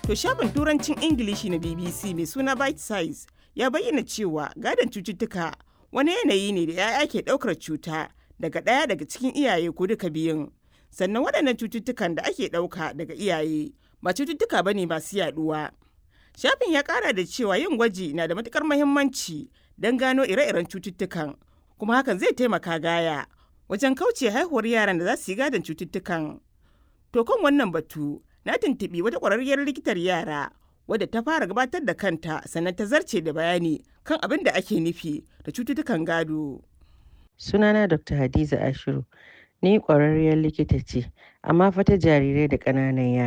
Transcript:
To, shafin Turancin Ingilishi na BBC mai suna Bite Size ya bayyana cewa gadon cututtuka wani yanayi ne da 'ya'ya ke ɗaukar cuta daga ɗaya daga cikin iyaye ko duka biyun. Sannan waɗannan cututtukan da ake ɗauka daga iyaye ba cututtuka ba ne masu yaɗuwa. Shafin ya ƙara da cewa yin gwaji na da matuƙar muhimmanci don gano ire-iren cututtukan, kuma hakan zai taimaka gaya wajen kauce haihuwar yaran da za su yi gadon cututtukan. To, kan wannan batu na tuntuɓi wata ƙwararriyar likitar yara wadda ta fara gabatar da kanta, sannan ta zarce da bayani kan abin da ake nufi da cututtukan gado. Sunana Dr. Hadiza Ashiru, ni ƙwararriyar likita ce, amma fa ta jarirai da ƙananan yara.